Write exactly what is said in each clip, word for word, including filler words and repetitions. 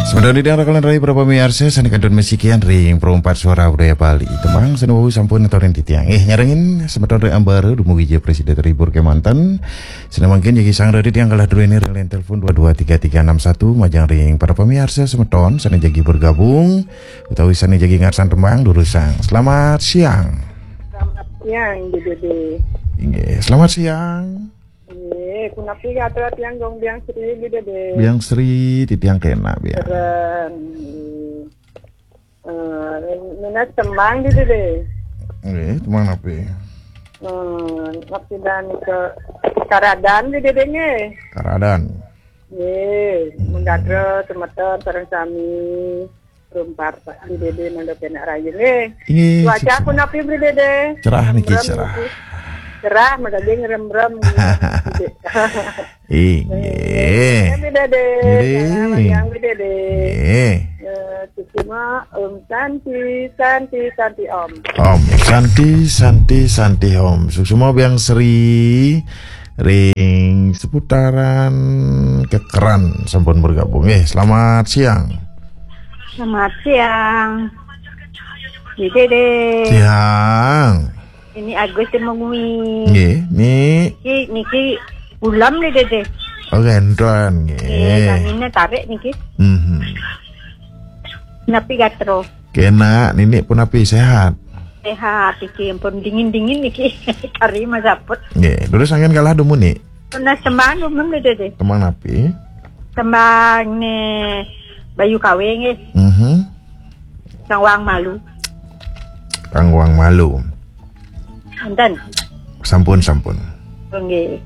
Semeton titiang raka lan rai para pamiarsa sané kantun masikian ring Perempat Suara Budaya Bali. Tembang sané wau sampun atorin titiang. Eh, nyarengin semeton ring ambaru dumugi ja prasida terhibur kemanten. Sané mangkin jagi sang ring titiang kalah druéné ring line telepon dua dua tiga tiga enam satu, majeng ring para pamiarsa semeton sané jagi bergabung utawi sané jagi ngarsan tembang durusang. Selamat siang. Selamat siang, Dé Dédé. Inggih, selamat siang. Nggih, punapi gatra tiang Gung Biang Sri, Dé Dédé. Biang Sri, titiang kenak, Biang. Keren. Eh, nunas tembang, Dé Dédé. Nggih, tembang napi? Hmm, napi dan ke Karadan, Dé Dédé, nggih. Karadan. Nggih, hmm. Manggadra semeton sareng sami. Rumpar, Pak, Dé Dédé mangda kenak raya, nggih. Inggih, cuaca sukses. Punapi, Dé Dédé? Cerah niki, remrem cerah. Niki. Cerah, mangda ngrem-rem. Inggih. Nggih, Dé Dédé. Nggih. Cerah, Dé Dédé. Nggih. Eh, suksma, Om Santi, Santi, Santi, Om. Om Santi, Santi, Santi, Om. Suksma Biang Sri ring seputaran Kekeran sampun bergabung. Eh, selamat siang. Selamat siang. Dé Dédé. Siang. Ini Agus Temengui. Nggih, Ni. Niki, niki ulam, Dé Dédé. Oh, gendron, nggih. Nggih, tanginnya tarik niki. Mhm. Napi gatra? Kenak, Nini punapi, sehat? Sehat, iki ampun dingin-dingin niki. Kari masaput. Nggih, terus angin kalah dumun, Ni? Nunas tembang dumun, Dé Dédé. Tembang napi? Tembang né Bayu Kawe nggih. Mhm. Kang Wang Malu. Kang Wang Malu. Enten. Sampun, sampun. Nggih.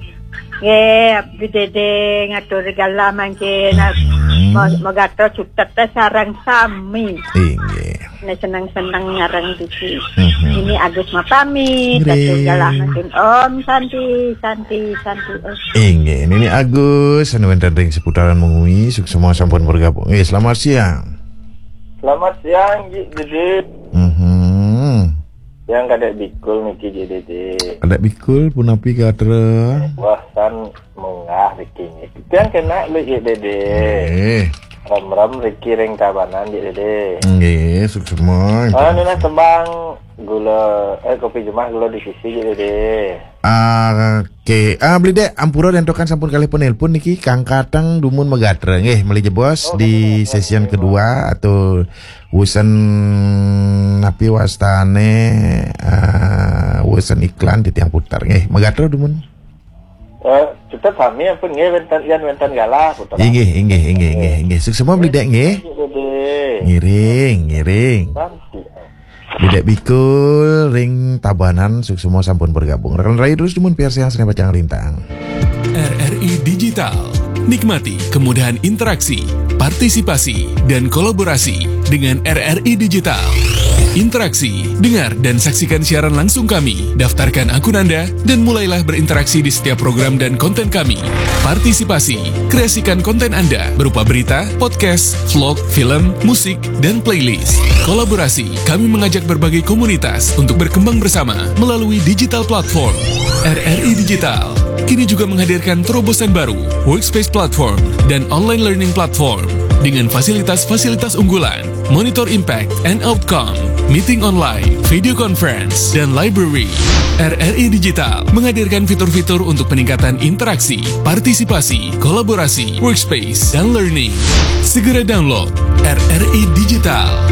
Nggih, Dé Dédé ngatur galah mangkin. Mhm. Mo-, mogato cutet sareng sami. Inggih. Né seneng-seneng nyarengin titiang. Mhm. Ini Agus mapamit, nggih. Ngatur galah mangkin. Om Santi, Santi, Santi, Om. Inggih, Nini Agus anu wénten ring seputaran Mengwi, suksma sampun bergabung. Nggih, selamat siang. Selamat siang, Dé Dédé. Mhm. Tiang kadék bikul niki, Dé Dédé. Kadék bikul, punapi gatra? Wah, tan munggah niki. Tiang kenak lu, Dé Dédé. Eh. Remrem riki ring Tabanan, Dé Dédé. Nggih, suksma. Ah, nunas tembang gula, eh, Kopi Jumah Gula di Sisi, Dé Dédé. Ah, oke. Ah, Beli Dék, ampura déntokan sampun kalih penelpon niki, kang kateng dumun magatra. Nggih, malih jebos. Oh, di sesi kedua atau wusan napi wastané, ah, wusan iklan titiang putar. Nggih, magatra dumun. Eh, cutet sami ampun nggih, wénten, yén wénten galah putar. Inggih, inggih, inggih, inggih, inggih. Suksma Beli Dék nggih. Dé Dédé. Ngiring, ngiring. Santi. Beli Dék bikul ring Tabanan, suksma sampun bergabung. Rekan rayu terus dumun piarsa sané pacang lintang. R R I Digital. Nikmati kemudahan interaksi, partisipasi, dan kolaborasi dengan R R I Digital. Interaksi, dengar dan saksikan siaran langsung kami. Daftarkan akun Anda dan mulailah berinteraksi di setiap program dan konten kami. Partisipasi, kreasikan konten Anda berupa berita, podcast, vlog, film, musik, dan playlist. Kolaborasi, kami mengajak berbagai komunitas untuk berkembang bersama melalui digital platform. R R I Digital kini juga menghadirkan terobosan baru, Workspace Platform dan Online Learning Platform, dengan fasilitas-fasilitas unggulan, monitor impact and outcome, meeting online, video conference, dan library. R R I Digital menghadirkan fitur-fitur untuk peningkatan interaksi, partisipasi, kolaborasi, workspace, dan learning. Segera download R R I Digital.